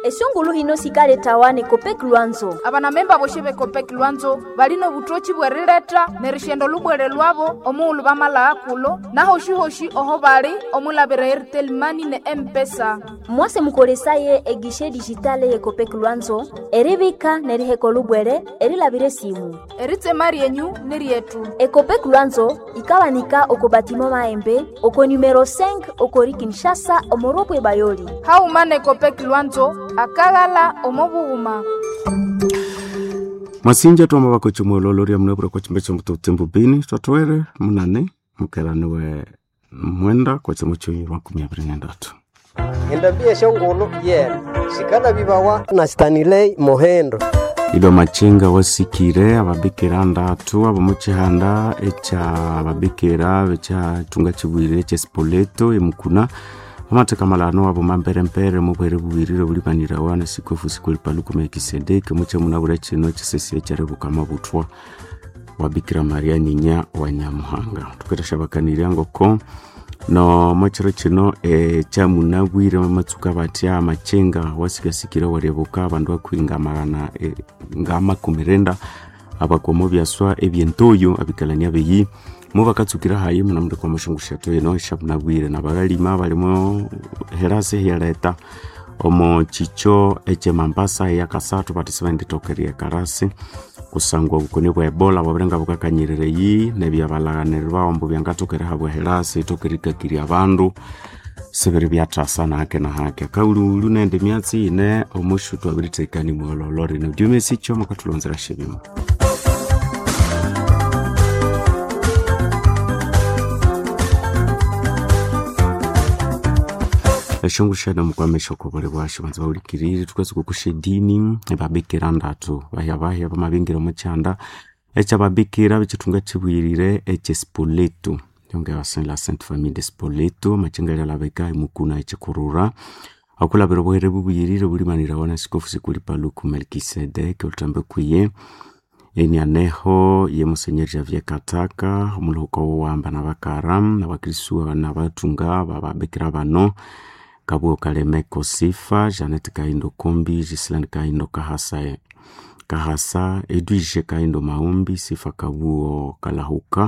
Esyongulu hino sikaletawa ne Copec Lwanzo. Abanamemba boshi be Copec Lwanzo balina obutoki bw'erileta n'erishenda olubwere lwabo omughulhu bamalagha kulo nahoshi-hoshi oho bali omulabira Airtel Money ne M-Pesa. Mwase mukolesaye egishe digitale ye Copec Lwanzo eribika n'eriheka olubwere erilabira esimu. Eritsema ryenyu ni ryetu. Ecopec Lwanzo ikabanika oko batimo Maembe oko numero 5 okori Kinshasa omoropwe Bayoli. Hauma ne Copec Lwanzo akaghala omo bughuma. Mwasinja twama bakocha mwololo lya munebura kwa chimbe cha mutotembo bini twatwere munane mukeraniwe mwenda kwa chimo choyi 2023. Endambi esyongulhu yena sikalabibawa na Stanley Mohendo. Ido machinga wasikire ababikira ndatu abomuchihanda echa ababikira bechatunga chibwirire eche Spoleto emukuna amateka malano abo mamperempere mubwere bubwirire bulibanirawa na sikofu sikwelipaluku Melkisedeki muche munabura chino chisesi echarebuka mabutwa wa Bikira Maria nyinya wa Nyamuhanga. Tuketeshabakanirya ngoko no mwachiro chino echamunabwire mamatsuka batya amachenga wasikasikire waryebuka abandu akwinga magana nga makumi renda abakwamo byaswa ebyentoyo abikalania beyi mubakatsukira hayi munamundu kwa mashungushato eno eshamunabwire nabakalima balimo herasi hyaleta omo chicho eche Mambasa eyakasathu bati sibenditokeria karasi kusangwa obukoni bwa ebola bwabirenga bukakanyirira eyi nebyabalaghanirwa ombu byangatokera habwa herasi itokerikakiria abandu sibiri byathasa nahake nahake kaululu nende myatsi ine omushu twabiritekani mwololo rino dyumesicho makathulonzera shebimo. Eshongushana mukwamesha okobole bwasho banza bawulikirire tukasuka kushedini ebabikira ndatu bahya bahya bamabingira omukyanda ekyababikira bekyithunga kibwirire ekye Spoleto yonge la Sainte Famille de Spoleto amachenga lyalabeka emukuna ekikurura akulabira obuhere bubwirire bulimanirawa na sikofu sikuli Paluku Melkisedeki olutambe kwiye enianeho ye Musenyeri Javier Kataka omuluhuka wowamba nabakara nabakristu nabatunga bababikira bano Kabuo Kalemeko Sifa, Janet Kaindo Kombi, Gislaine Kaindo Kahasa, Kahasa, Edwige Kaindo Maumbi, Sifa Kabuo Kalahuka.